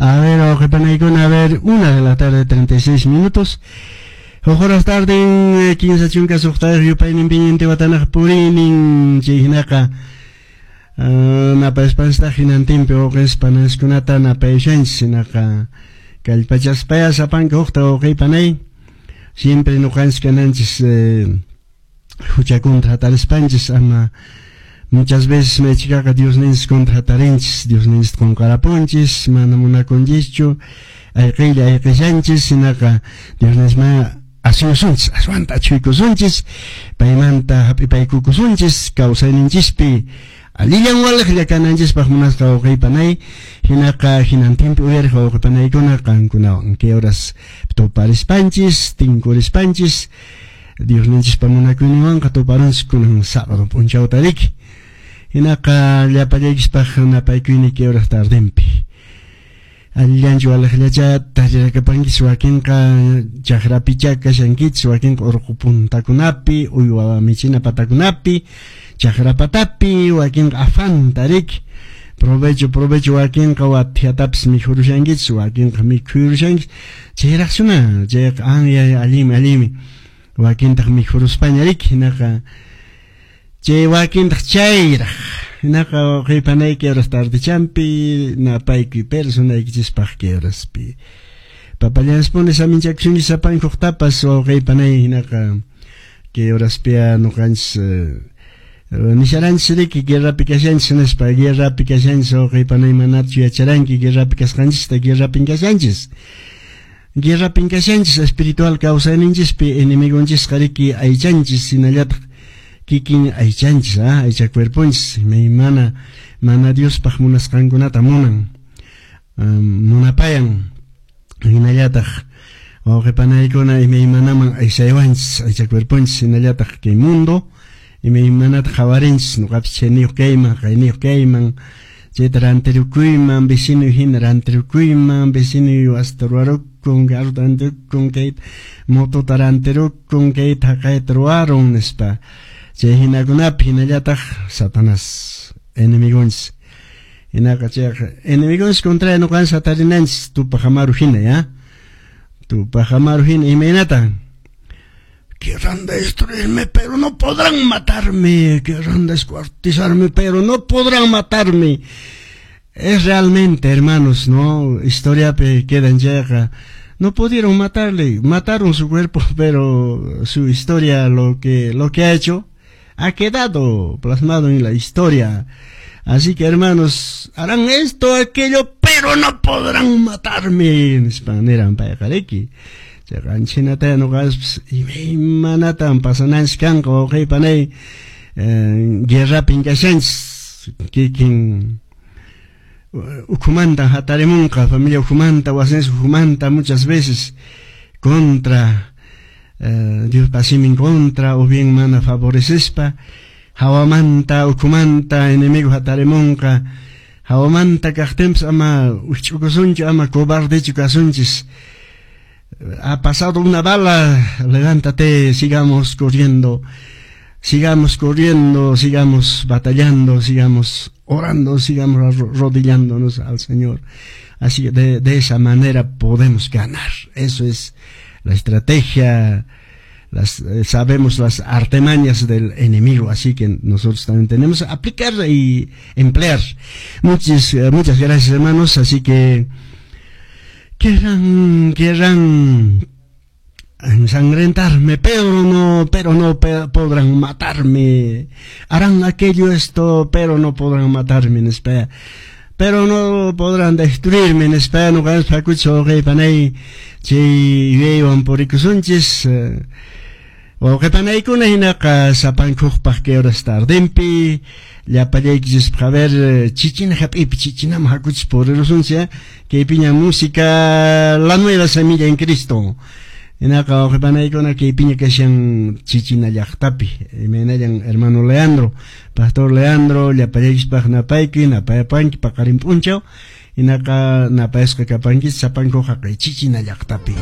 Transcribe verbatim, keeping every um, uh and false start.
A ver, wawqipanaykuna, a ver, una de la tarde, treinta y seis minutos. Huk horas tarde, kinsa chunka suqtayuq yupayninpiña Intihuatanaq puriynin. Chay hinaqa napayaspanchistaq hinantinpi wawqinchis pananchiskunata napayashanchis. Hinaqa kallpachaspaya sapanka hukta, wawqipanay, siempre ñuqanchis kananchis hucha contra hatarispanchis, ama muchas veces maychikaqa Diosninchis contra hatarinchis, Diosninchis qunqarapunchis, mana munakunchischu, ayqiylla ayqishanchis. Hinaqa Diosninchisman asuyusunchis, aswanta achhuykusunchis, paymanta hap'ipaykukusunchis kawsayninchispi allillan waliqlla kananchispaq, munasqa wawqipanay. Hinaqa hinantinpi uyariq wawqipanaykuna, qankunawan kay horas tuparispanchis, tinkurispanchis, Diosninchispa munakuyninwanqa tuparunchis kunan sábado p'unchawta riki. Hinaqa llapallaykispaq napaykuyni kay horas tardenpi. Allillanchu, waliqllacha tarirakapankichis? Wakinqa chakrapicha kashankichis, wakinqa urqu puntakunapi, uywa michina patakunapi, chakra patapi, wakinqa afanta riki. Provecho, provecho. Wakinqa wathiatapis mikhurushankichis, wakinqa mikhurushankichis chayraqsuna, chayqa anya allinmi, allinmi. Wakintaq mikhuruspaña riki, hinaqa chay wakintaq chayraq. Hinaqa wawqipanayki horas tardechampi napaykuy personaykichispaq kay horaspi. Papallanspuni saminchakusunchis sapanka huktapas, wawqipanay. Hinaqa kay horaspia ñuqanchis nisharanchis riki, guerrapi kashanchis nispa. Guerrapi kashanchis, wawqipanay. Manachu yacharanki guerrapi kasqanchista? Guerrapin kashanchis, guerrapin kashanchis espiritual kawsayninchispi. Enemigonchisqa riki aychanchis, hinallataq kikin aychanchis, ah, aycha cuerponchis mana mana Diospaq munasqankunata munan, munapayan. Hinallataq, wawqipanaykuna, imaymanaman aysaywanchis aycha cuerponchis, hinallataq kay mundo imaymanata qhawarinchis: ñuqapis chayniyuq kayman, qayniyuq kayman, chayta rantirukuyman, vecino hina rantirukuyman, vecino wasita ruwarukun, carrota rantirukun, kayta motota rantirukun, kayta haqayta ruwarun nispa. Chay hinakunapi, hinallataq Satanás enemigonchis. Hinaqa chayqa enemigonchis contra ñuqanchis hatarinanchis Tupac Amaru hina, ya, Tupac Amaru hina. Imaynata? "Querrán destruirme, pero no podrán matarme. Querrán descuartizarme, pero no podrán matarme." Es realmente, hermanos, ¿no? Historia queda en llega. No pudieron matarle, mataron su cuerpo, pero su historia, lo que, lo que ha hecho, ha quedado plasmado en la historia. Así que, hermanos, harán esto, aquello, pero no podrán matarme. Nispa payqa riki. Chayqa ñuqaspas imaymanatan pasananchis kanqa, wawqipanay. Guerrapin kashanchis, kikin ukhumanta hatarimunqa, familia ukhumanta, wasinchis ukhumanta, muchas veces contra eh, Diospa simin contra o bien mana favorecespa, hawamanta, ukhumanta enemigo hatarimunqa. Hawamanta kaqtinpas ama wikch'ukusunchu, ama cobardechu kasunchis. Ha pasado una bala, levántate, sigamos corriendo, sigamos corriendo, sigamos batallando, sigamos orando, sigamos arrodillándonos al Señor. Así que de, de esa manera podemos ganar. Eso es la estrategia, las, eh, sabemos las artimañas del enemigo, así que nosotros también tenemos que aplicar y emplear. Muchas, eh, muchas gracias, hermanos, así que querrán, querrán ensangrentarme, pero no, pero no podrán matarme. Harán aquello, esto, pero no podrán matarme, nispa. Pero no podrán destruirme, nispa. Ñuqanchis hakuchis, wawqipanay, chay yuyaywan purikusunchis. Wawqipanaykuna, hinaqa sapankuqpaq kay horas tardempi llapallaykichispaq, a ver, chichina hap'ipi, chichinaman hakuchis purirusunchis. Kaypiña música La Nueva Semilla en Cristo. Hinaqa, wawqipanaykuna, kaypiña kashan Chichina llaqtapi imaynallan hermano Leandro, pastor Leandro, llapallaykichispaq napaykuy, napayapanki paqarin p'unchaw. Hinaqa napayasqa kapankichis sapankuqa kay Chichina llaqtapi.